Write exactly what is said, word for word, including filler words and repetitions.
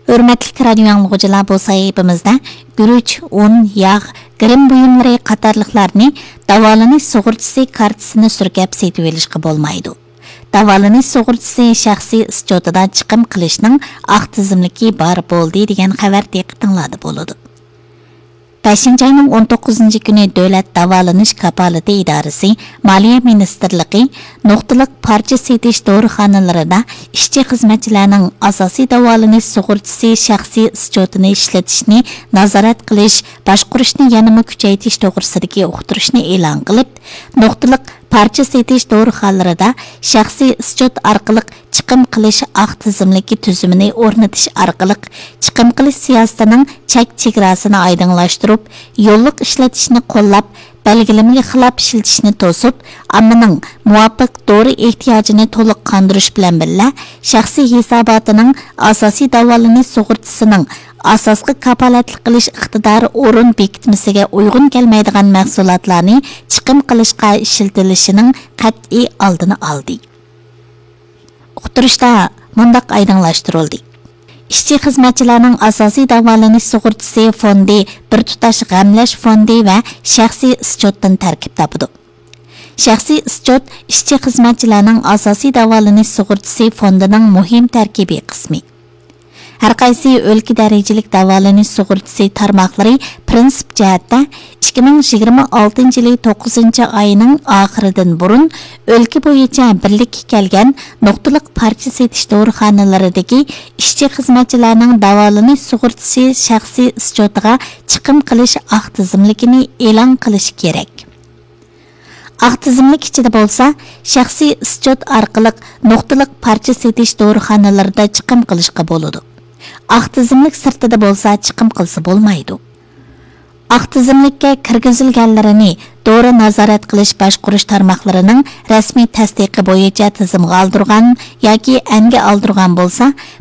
ھۆرمەتلىك رادىيو ئاڭلىغۇچىلار، بۇ سەھىپىمىزدە گۈرۈچ، ئۇن، ياغ، گىرىم بۇيۇملىرى قاتارلىقلارنى داۋالىنىش سۇغۇرتىسى كارتىسىنى سۈركەپ سېتىۋېلىشقا بولمايدۇ. داۋالىنىش سۇغۇرتىسى شەخسىي ئىسچوتىدا چىقىم قىلىشنىڭ ئاق تىزىملىكى بار بولدى دېگەن خەۋەر دىققىتىڭلاردا بولىدۇ. بەشىنچى ئاينىڭ ئون توققۇزىنچى كۈنى دۆلەت داۋالىنىش كاپالىتى ئىدارىسى، مالىيە مىنىستىرلىقى نۇقتىلىق پارچە سېتىش دورىخانىلىرىدا ئىشچى خىزمەتچىلەرنىڭ ئاساسىي داۋالىنىش سۇغۇرتىسى شەخسىي ئىسچوتىنى ئىشلىتىشنى نازارەت قىلىش، باشقۇرۇشنى يەنىمۇ كۈچەيتىش توغرىسىدىكى ئۇقتۇرۇشنى ئېلان قىلىپ، نۇقتىلىق پارچە سېتىش دورىخانىلىرىدا شەخسىي ئىسچوت ئارقىلىق چىقىم قىلىش ئاق تىزىملىكى تۈزۈمىنى ئورنىتىش ئارقىلىق، چىقىم قىلىش سىياسىتىنىڭ چەك چېگراسىنى ئايدىڭلاشتۇرۇپ، يوللۇق ئىشلىتىشنى قوللاپ، بەلگىلىمىگە خىلاپ ئىشلىتىشنى توسۇپ، ئاممىنىڭ مۇۋاپىق دورا ئېھتىياجىنى تولۇق قاندۇرۇش بىلەن بىللە، شەخسىي ھېساباتىنىڭ ئاساسىي داۋالىنىش سۇغۇرتىسىنىڭ ئاساسقا كاپالەتلىك قىلىش ئىقتىدارى ئورۇن بېكىتمىسىگە ئۇيغۇن كەلمەيدىغان مەھسۇلاتلارنى چىقىم قىلىشقا ئىشلىتىلىشىنىڭ قەتئىي ئالدىنى ئالدى. ئۇقتۇرۇشتا مۇنداق ئايدىڭلاشتۇرۇلدى: ئىشچى خىزمەتچىلەرنىڭ ئاساسىي داۋالىنىش سۇغۇرتىسى فوندى بىر تۇتاش غەملەش فوندى ۋە شەخسىي ئىسچوتتىن تەركىب تاپىدۇ. شەخسىي ئىسچوت ئىشچى خىزمەتچىلەرنىڭ ئاساسىي داۋالىنىش سۇغۇرتىسى فوندىنىڭ مۇھىم تەركىبىي قىسمى. ھەرقايسى ئۆلكە دەرىجىلىك داۋالىنىش سۇغۇرتىسى تارماقلىرى پىرىنسىپ جەھەتتە ئىككى مىڭ يىگىرمە ئالتىنچى يىلى توققۇزىنچى ئاينىڭ ئاخىرىدىن بۇرۇن ئۆلكە بويىچە بىرلىككە كەلگەن نۇقتىلىق پارچە سېتىش دورىخانىلىرىدىكى ئىشچى خىزمەتچىلەرنىڭ داۋالىنىش سۇغۇرتىسى شەخسىي ئىسچوتىغا چىقىم قىلىش ئاق تىزىملىكىنى ئېلان قىلىشى كېرەك. ئاق تىزىملىك ئىچىدە بولسا، شەخسىي ئىسچوت ئارقىلىق نۇقتىلىق پارچە سېتىش دورىخانىلىرىدا چىقىم قىلىشقا بولىدۇ. ئاق تىزىملىك سىرتىدا بولسا چىقىم قىلسا بولمايدۇ. ئاق تىزىملىككە كىرگۈزۈلگەنلىرىنى دورا نازارەت قىلىش باشقۇرۇش تارماقلىرىنىڭ رەسمىي تەستىقى بويىچە تىزىمغا ئالدۇرغان ياكى ئەنگە ئالدۇرغان بولسا،